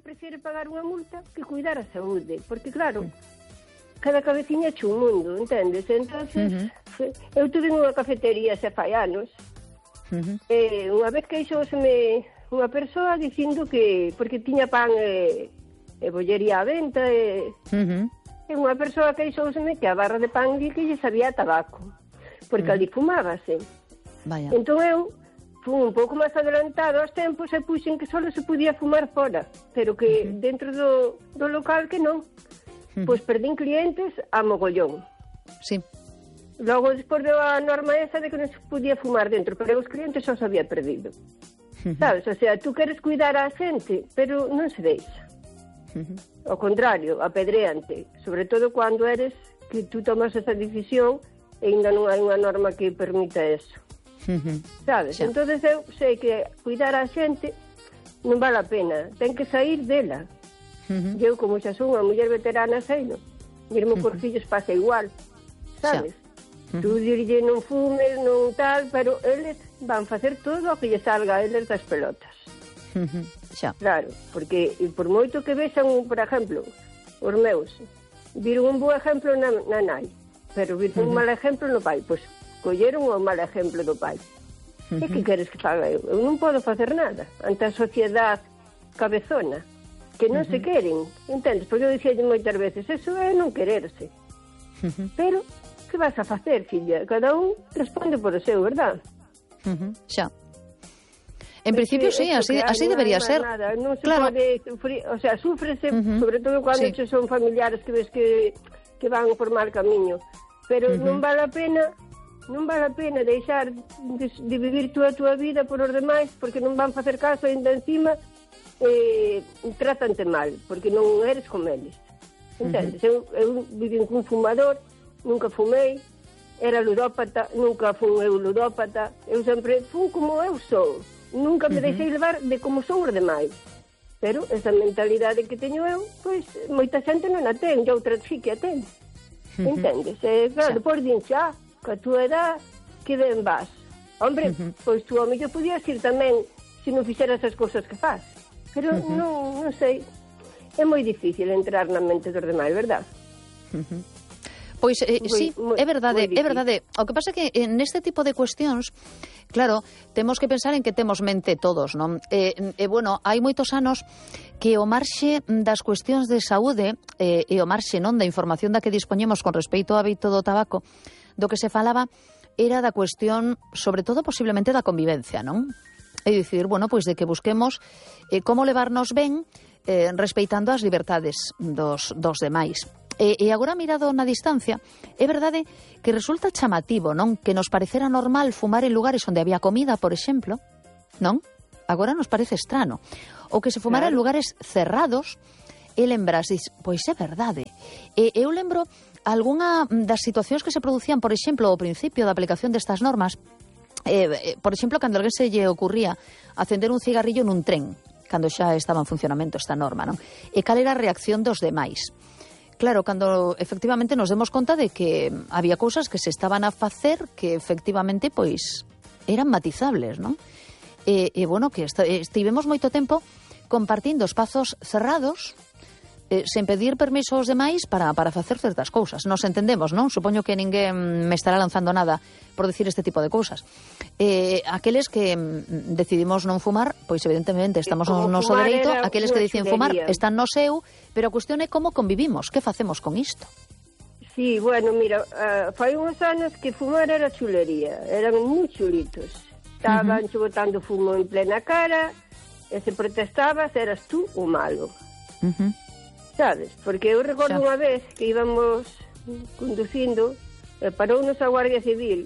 prefere pagar unha multa que cuidar a saúde, porque claro, cada cabeciña é un mundo, entendes? Entonces, eu tuve unha cafetería xa fai anos, unha vez queixóseme unha persoa dicindo que, porque tiña pan e bollería á venta, e unha persoa queixóseme que a barra de pan que lle sabía a tabaco, porque ali fumábase. Vaya. Entón eu fui un pouco máis adelantado aos tempos e puxen que só se podía fumar fora, pero que dentro do local que non. Pois perdín clientes a mogollón. Sí. Logo, despois deu a norma esa de que non se podía fumar dentro, pero os clientes só se había perdido. Sabes? O sea, tú queres cuidar a xente, pero non se deixa. Ao contrario, apedréante. Sobre todo cando eres que tú tomas esa decisión e ainda non hai unha norma que permita eso. Sabes? Xa. Entón eu sei que cuidar a xente non vale a pena. Ten que sair dela. Eu, como xa son unha muller veterana, seino. Mesmo por fillos pasa igual. Sabes? Tú dirille non fumes, non tal, pero eles van facer todo o que lle salga a eles das pelotas. Xa. Claro, porque por moito que vexan, por exemplo, os meus, viron un bo exemplo na nai, pero viron un mal exemplo no pai, pois colleron o mal exemplo do pai. E que queres que faga eu? Eu non podo facer nada ante a sociedade cabezona, que non se queren, entendes? Porque eu dicía moitas veces, eso é non quererse. Pero que vas a facer, filla? Cada un responde por o seu, verdad? Xa. En principio, sí, así debería ser. Nada. Non se claro. pode sufrir, o sea, súfrese, sobre todo cando son familiares que ves que van por mal camiño. Pero non vale a pena deixar de vivir tú a túa vida por os demais, porque non van facer caso, ainda encima trátante mal, porque non eres como eles. Entendes? Eu viví cun fumador, nunca fumei, era ludópata, nunca fui eu ludópata, eu sempre fui como eu sou, nunca me deixei levar de como son os demais. Pero esa mentalidade que teño eu, pois moita xente non a ten, e outras sí que a ten. Entendes? Claro, depois din xa, que a túa edad, que ben vas. Hombre, pois tú ao mellor podías ir tamén se non fixeras as cousas que faz. Pero non sei, é moi difícil entrar na mente dos demais, verdad? Pois sí, é verdade. O que pasa é que neste tipo de cuestións, claro, temos que pensar en que temos mente todos, non? Bueno, hai moitos anos que o marxe das cuestións de saúde e o marxe non da información da que dispoñemos con respecto ao hábito do tabaco, do que se falaba era da cuestión, sobre todo, posiblemente da convivencia, non? É dicir, bueno, pois de que busquemos como levarnos ben respeitando as liberdades dos demais. E agora, mirado na distancia, é verdade que resulta chamativo, non? Que nos parecera normal fumar en lugares onde había comida, por exemplo, non? Agora nos parece estrano. Ou que se fumara en lugares cerrados, e lembras, pois é verdade. Eu lembro algunha das situacións que se producían, por exemplo, ao principio da aplicación destas normas, por exemplo, cando alguén se lle ocurría acender un cigarrillo nun tren, cando xa estaba en funcionamento esta norma, non? E cal era a reacción dos demais? Claro, cando efectivamente nos demos conta de que había cousas que se estaban a facer que efectivamente, pois, eran matizables, non? E bueno, que estivemos moito tempo compartindo espazos cerrados, sen pedir permiso aos demais para facer certas cousas. Nos entendemos, non? Supoño que ninguén me estará lanzando nada por decir este tipo de cousas. Aqueles que decidimos non fumar, pois evidentemente estamos no noso dereito. Aqueles que deciden fumar están no seu, pero a cuestión é como convivimos. Que facemos con isto? Sí, bueno, mira, fai uns anos que fumar era chulería. Eran moi chulitos. Estaban botando fumo en plena cara, e se protestabas, eras tú o malo. Sabes? Porque eu recordo unha vez que íbamos conducindo, parounos a Guardia Civil